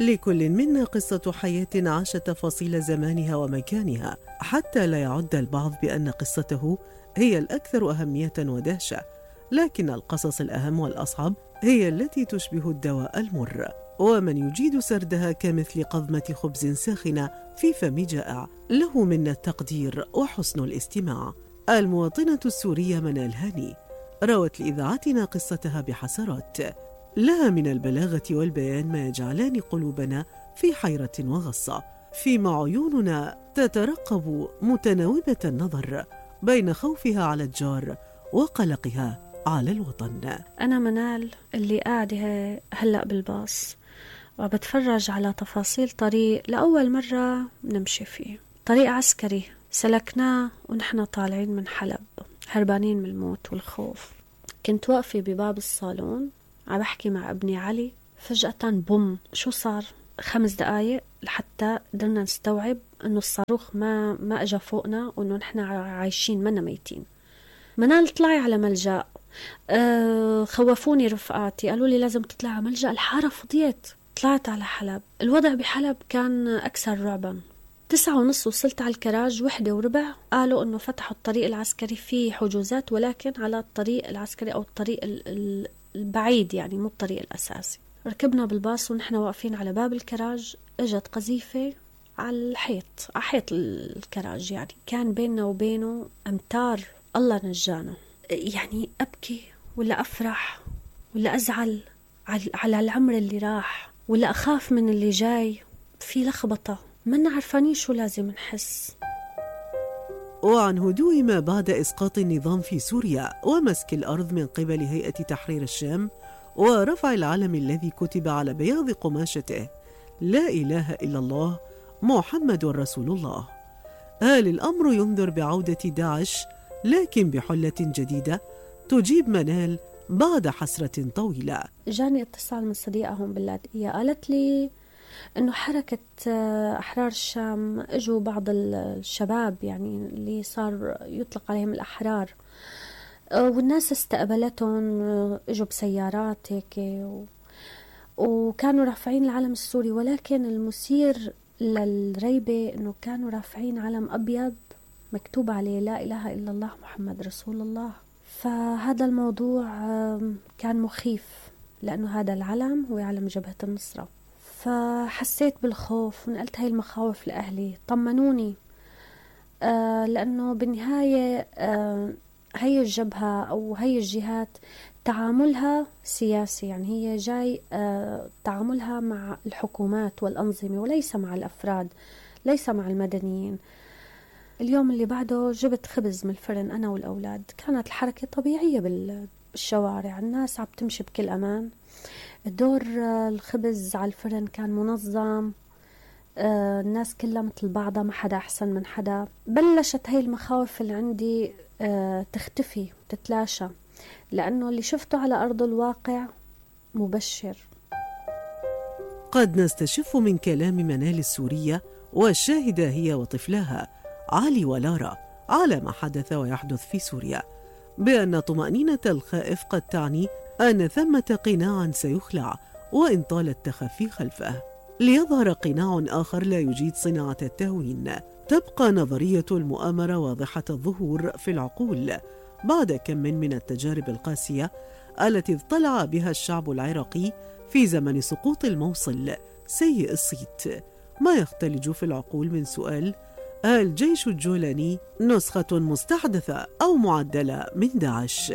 لكل منا قصة حياة عاشت تفاصيل زمانها ومكانها، حتى لا يعد البعض بأن قصته هي الأكثر أهمية ودهشة، لكن القصص الأهم والأصعب هي التي تشبه الدواء المر، ومن يجيد سردها كمثل قضمة خبز ساخنة في فم جائع. له منا التقدير وحسن الاستماع. المواطنة السورية منال هاني روت لإذاعتنا قصتها بحسرات، لها من البلاغة والبيان ما يجعلان قلوبنا في حيرة وغصة، فيما عيوننا تترقب متناوبة النظر بين خوفها على الجار وقلقها على الوطن. أنا منال اللي قاعدة هلأ بالباص وبتفرج على تفاصيل طريق لأول مرة نمشي فيه، طريق عسكري سلكناه ونحن طالعين من حلب هربانين من الموت والخوف. كنت واقفة بباب الصالون عم بحكي مع ابني علي، فجأة بوم، شو صار؟ 5 دقايق لحتى قدرنا نستوعب انه الصاروخ ما اجا فوقنا وانه نحن عايشين منا ميتين. منال طلعي على ملجأ. خوفوني رفقاتي، قالوا لي لازم تطلع على ملجأ، الحارة فضيت. طلعت على حلب. الوضع بحلب كان أكثر رعبا. 9:30 وصلت على الكراج. 1:15 قالوا انه فتحوا الطريق العسكري، فيه حجوزات ولكن على الطريق العسكري او الطريق البعيد، يعني مو الطريق الاساسي. ركبنا بالباص ونحن واقفين على باب الكراج، اجت قذيفة على الحيط، على حيط الكراج، يعني كان بيننا وبينه امتار. الله نجانا. يعني ابكي ولا افرح ولا ازعل على العمر اللي راح، ولا اخاف من اللي جاي؟ في لخبطة، منا عرفانين شو لازم نحس. وعن هدوء ما بعد إسقاط النظام في سوريا ومسك الأرض من قبل هيئة تحرير الشام ورفع العلم الذي كتب على بياض قماشته لا إله إلا الله محمد رسول الله، هل الأمر ينذر بعودة داعش لكن بحلة جديدة؟ تجيب منال بعد حسرة طويلة. جاني اتصال من صديقة هون باللاذقية، قالت لي انه حركة احرار الشام اجوا بعض الشباب، يعني اللي صار يطلق عليهم الاحرار، والناس استقبلتهم، اجوا بسيارات هيك وكانوا رافعين العلم السوري، ولكن المثير للريبة انه كانوا رافعين علم ابيض مكتوب عليه لا اله الا الله محمد رسول الله. فهذا الموضوع كان مخيف، لانه هذا العلم هو علم جبهة النصرة. فحسيت بالخوف ونقلت هاي المخاوف لأهلي، طمنوني، لأنه بالنهاية هاي الجبهة أو هاي الجهات تعاملها سياسي، يعني هي جاي تعاملها مع الحكومات والأنظمة وليس مع الأفراد، ليس مع المدنيين. اليوم اللي بعده جبت خبز من الفرن أنا والأولاد، كانت الحركة طبيعية بالشوارع، الناس عم تمشي بكل أمان. دور الخبز على الفرن كان منظم، الناس كلها مثل بعضها، ما حدا أحسن من حدا. بلشت هاي المخاوف اللي عندي تختفي وتتلاشى، لأنه اللي شفته على أرض الواقع مبشر. قد نستشف من كلام منال السورية والشاهدة هي وطفلها علي ولارا على ما حدث ويحدث في سوريا بأن طمأنينة الخائف قد تعني أن ثمة قناعا سيخلع وإن طال التخفي خلفه، ليظهر قناع آخر لا يجيد صناعة التهوين. تبقى نظرية المؤامرة واضحة الظهور في العقول بعد كم من التجارب القاسية التي اضطلع بها الشعب العراقي في زمن سقوط الموصل سيء الصيت. ما يختلج في العقول من سؤال: هل جيش الجولاني نسخة مستحدثة أو معدلة من داعش؟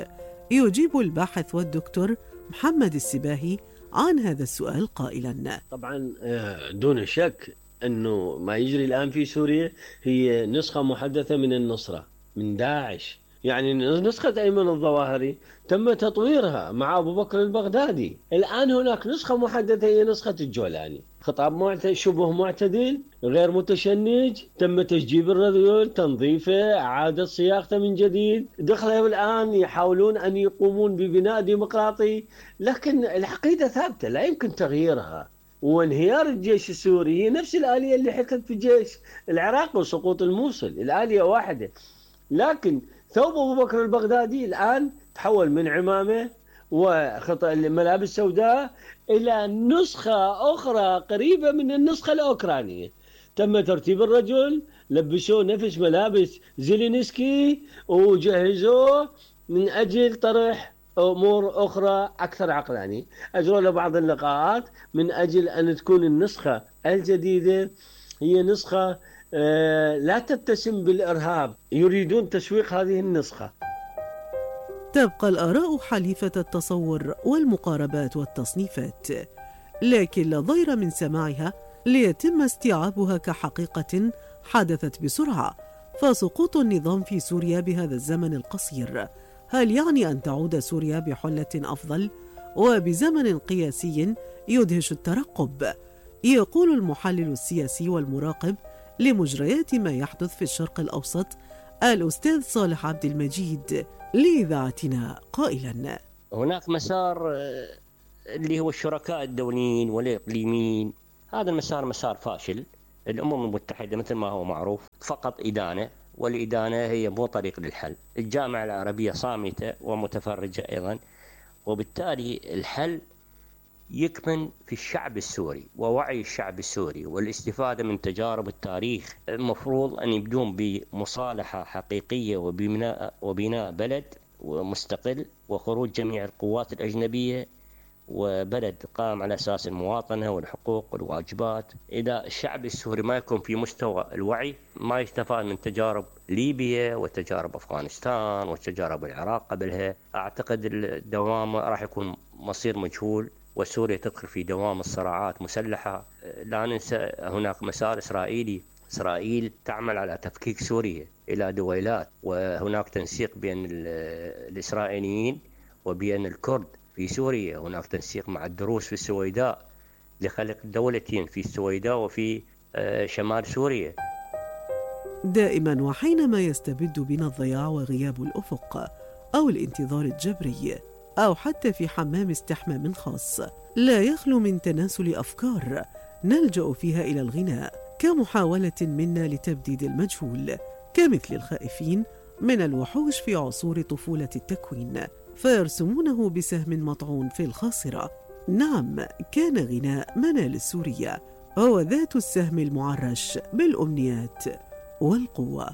يجيب الباحث والدكتور محمد السباهي عن هذا السؤال قائلا: طبعا دون شك أنه ما يجري الآن في سوريا هي نسخة محدثة من النصرة، من داعش. يعني نسخة أيمن الظواهري تم تطويرها مع أبو بكر البغدادي. الآن هناك نسخة محدثة هي نسخة الجولاني، خطاب شبه معتدل، غير متشنج، تم تشجيب الرذيل، تنظيفه، إعادة صياغته من جديد. دخلوا الآن يحاولون أن يقومون ببناء ديمقراطي، لكن العقيدة ثابتة لا يمكن تغييرها. وانهيار الجيش السوري هي نفس الآلية اللي حكت في الجيش العراقي وسقوط الموصل، الآلية واحدة. لكن ثوب أبو بكر البغدادي الآن تحول من عمامة وخطأ الملابس السوداء إلى نسخة أخرى قريبة من النسخة الأوكرانية. تم ترتيب الرجل، لبسوه نفس ملابس زيلينسكي وجهزوه من أجل طرح أمور أخرى أكثر عقلانية. أجروا له بعض اللقاءات من أجل أن تكون النسخة الجديدة هي نسخة لا تتسم بالإرهاب. يريدون تسويق هذه النسخة. تبقى الآراء حليفة التصور والمقاربات والتصنيفات، لكن لا ضير من سماعها ليتم استيعابها كحقيقة حدثت بسرعة. فسقوط النظام في سوريا بهذا الزمن القصير هل يعني أن تعود سوريا بحلة أفضل وبزمن قياسي يدهش الترقب؟ يقول المحلل السياسي والمراقب لمجريات ما يحدث في الشرق الأوسط الأستاذ صالح عبد المجيد لإذاعتنا قائلا: هناك مسار اللي هو الشركاء الدوليين والإقليميين، هذا المسار مسار فاشل. الأمم المتحدة مثل ما هو معروف فقط إدانة، والإدانة هي مو طريق للحل. الجامعة العربية صامتة ومتفرجة أيضا، وبالتالي الحل يكمن في الشعب السوري ووعي الشعب السوري والاستفادة من تجارب التاريخ. المفروض أن يبدون بمصالحة حقيقية وبناء بلد ومستقل وخروج جميع القوات الأجنبية، وبلد قام على أساس المواطنة والحقوق والواجبات. إذا الشعب السوري ما يكون في مستوى الوعي ما يستفاد من تجارب ليبيا وتجارب أفغانستان وتجارب العراق قبلها، أعتقد الدوام راح يكون مصير مجهول، وسوريا تدخل في دوام الصراعات مسلحة. لا ننسى هناك مسار إسرائيلي، إسرائيل تعمل على تفكيك سوريا إلى دويلات، وهناك تنسيق بين الإسرائيليين وبين الكرد في سوريا. هناك تنسيق مع الدروز في السويداء لخلق دولتين في السويداء وفي شمال سوريا. دائما وحينما يستبد بنا الضياع وغياب الأفق أو الانتظار الجبري أو حتى في حمام استحمام خاص، لا يخلو من تناسل أفكار نلجأ فيها إلى الغناء كمحاولة منا لتبديد المجهول، كمثل الخائفين من الوحوش في عصور طفولة التكوين فيرسمونه بسهم مطعون في الخاصرة. نعم، كان غناء منال السورية هو ذات السهم المعرش بالأمنيات والقوة.